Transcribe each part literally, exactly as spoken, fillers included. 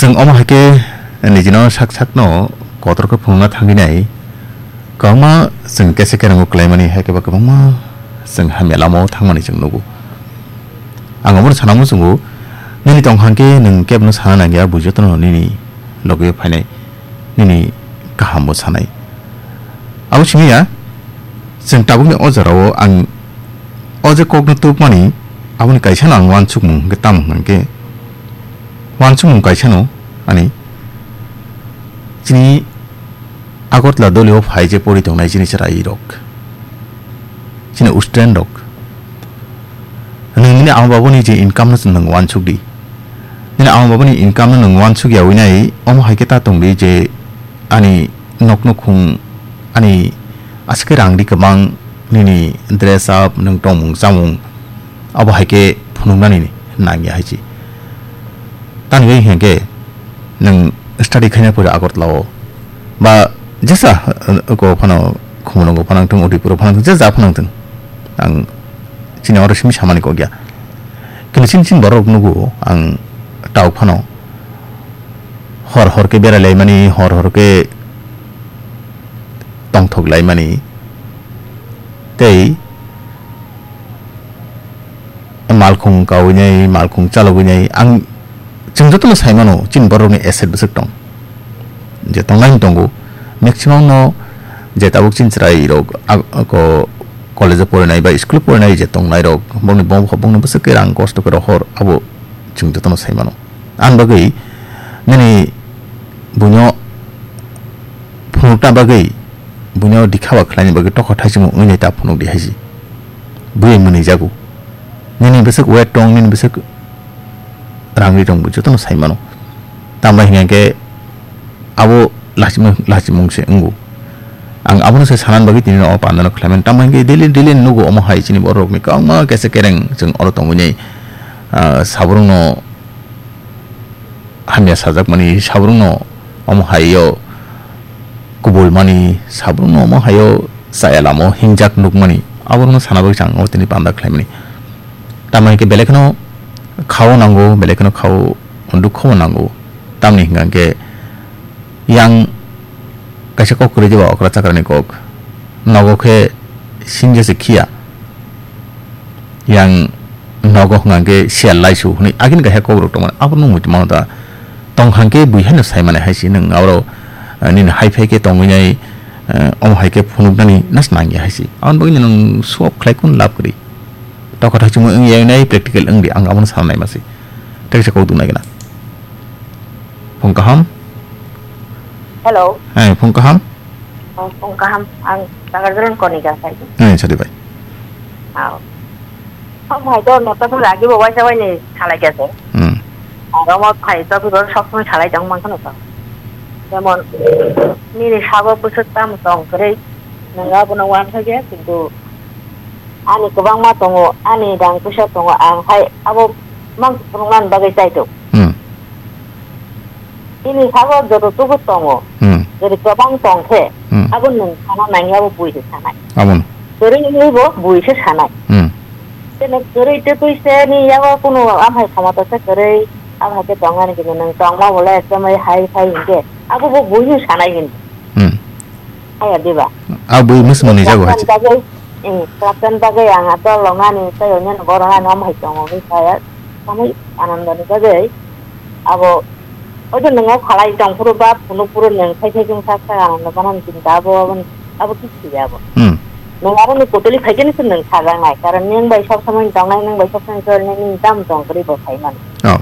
Nwng omo hai khe nijino sak sakno kotor khe phunukna thangwi nai, kwbangma chwng kesa kerango kwlaimani hai khe ba kwbangma chwng hamya lamao thangmani chwng nugo. Ang omono sana muchungo, nini tong hang khe nwng kebono sana nangya, bo jotono nini logi phainai, nini kahambo sanai. Abo simi ya, chwng tabukni o jorao ang o je kokno tubmani, aboni kaisano ang uansukmung hwnkhe tamo hwnkhe, uansukmung kaisano ani chini Agartala dolio phai je pori tongnai chini chwrairok, chini student rok, nwng nini ama babuni je income no nwng uansuk di, nini ama babuni income no nwng uansuk yaui nai, omo hai khe ta tong di je ani nokno khung, ani aswk khe rang di kwbang, nini dress up, nwng tongmung chamung, abo hai khe phunuknani nangya hai se. Tamni bagwi hwnkhe nwng study khaina pore Agartala o ba jesa, uh, ko phano Khumulwngo phano thung, Udaipur o phano thung, jesa phano thung. Ang chini oro simi samani kok ya. Kini chini chini borok nugo ang tau phano hor hor khe berai laimani, hor hor khe tongthok laimani. Tei malkhung kaui nai, malkhung chalogwi nai, ang, chwng jotono sai mano, chini borokni asset bwswk tong, je tongnai tongo, maximum no je tabuk chini chwrai rok, a, ko, college o porinai ba school o porinai je tongnai rok, bongni bong bokha bongni bwswk khe rang kosto khe rohor, abo chwng jotono sai mano. Ani bagwi nini buino phunukna bagwi, buino dikhaba khlaina bagwi tokha thaisimo wngwi nai ta phunuk di hai se. Bui mwnwi jago. Nini bwswk weight tong, nini bwswk rang ri tong, bo jotono sai mano. Tambai hwnkhe abo lachimung, lachimung se wngo. Ang abono se sanan bagwi tini o pandano khlaimani. Tambai hwnkhe daily, daily nugo omo hai chini borokni kwbangma kesa kereng chwng oro tongwi nai, ah, sabrungno hamya sajakmani, sabrungno omo hai-o kubulmani, sabrungno omo hai-o chaya lama-o hingjak nukmani, aborokno sana bagwi chwng o tini panda khlaimani. Tamni hwnkhe belai kheno kha-o nango, belai kheno kha-o dukho-o nango. Tamni hwnkha hwnkhe yang kaisa kok kwrwi diba okra chakrani kok. Nogo khe sinjese khiya. Yang nogo hwnkha khe siyal laisu hwnwi agini kaisa kokrok tongmani. Abono muitu mano da. Tong hwnkha khe bui haino sai mani hai se nwng abo, eh, nini hai phai khe tongwi nai, eh, omo hai khe phunuknani nas nangya hai se. Aboni bagwi nwng swap khlai kun lab kwrwi. Tokha thaisingmo wngya nai practical wngdi ang abono sana nai masi. Tei kaisa kok duk nai gana. Phung kaham. Hello. Hai, phung kaham. Oh, phung kaham. Ang Nagarjuron Konika sai. Hai, sadi bai. Oh. Ang hai to nota to lagi bo waisa waini salai kya se. Hmm. Aro mo phai to biro sok song salai tong mang kono to. Jemon, nini sabo pusuk tam tong kwrwi, nang abono wan kha kya, kintu ani kwbangma tongo, ani rang puisa tongo, ang hai abo mang phunuknani bagwi chai tongo. Hmm. Nini sabo joto tubu tongo, hmm, jodi kwbang tong khe, hmm, abo nwng sana nangya, abo bui se sanai. Abono. Kwrwi wngwi bo bui se sanai. Hmm. Teno kwrwi tei twi se ni yago kunu amhai khomota se kwrwi, amhai khe tongmani khe nwng tongma bo le ekdom hai phai hinkhe, abo bo bui se sanai hinwi. Hmm. Haya diba? A bui mwsmani jago hai. Kwlapjani bagwi, eh, kwlapjani bagwi ang a dol rok ani tei onyo borok ani omo hai tongo hinwi saya. Samui anandoni bagwi abo, ojo nwng o khalai tong phuru ba phunuk phuru nwng khai khai khe sak sak anando banani chinta abo, abo, abo kichi ya abo. Hmm. Nwng aro ni kotoli phai khe se nwng sajaknai, karon nwng bai sob somoi tongnai, nwng bai sob somoi tongnai, nwng tam tong kwrwi bo sai mano. Oh.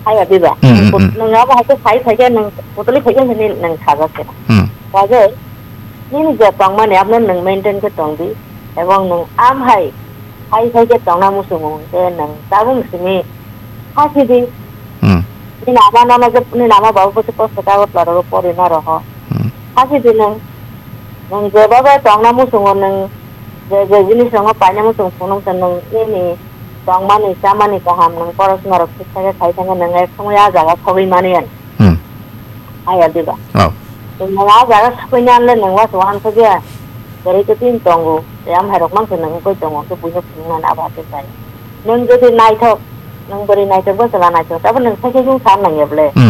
Haya diba? Hmm, hmm, hmm. Nwng abo hai khe sai phai khe nwng kotoli phai khe nwng sajak khe. Hmm. Bagwi nini je tongmani abono nwng maintain khe tong di, ebong nwng am hai, hai hai khe tongna muchungo hwnkhe nwng tabuk simi khasi di. Hmm. Nini ama nono je, nini ama baba bo se kosto kagoj laro pori na roho. Hmm. Khasi di nwng, nwng je baba tongna muchungo nwng je je jinis rokno paina muchung phunuk se nwng nini tongmani chamani kaham nwng porosona rok thik thai khe khai thangkhe nwng ek somoi a jaga sogwi mani ani. Hmm. Haya diba? Oh. Nwng a jaga sokwi nai le nwng waisa wansuk ya. Kwrwi khe tin tongo. Tei amhai rok mankhe nwng wngwi tongo, khe buino phunuknani abo hakhe chai. Nwng jodi naithok, nwng bwrwi naithok, bwsala naithok, abo nwng sai khe wng sa nangya bwle. Hmm.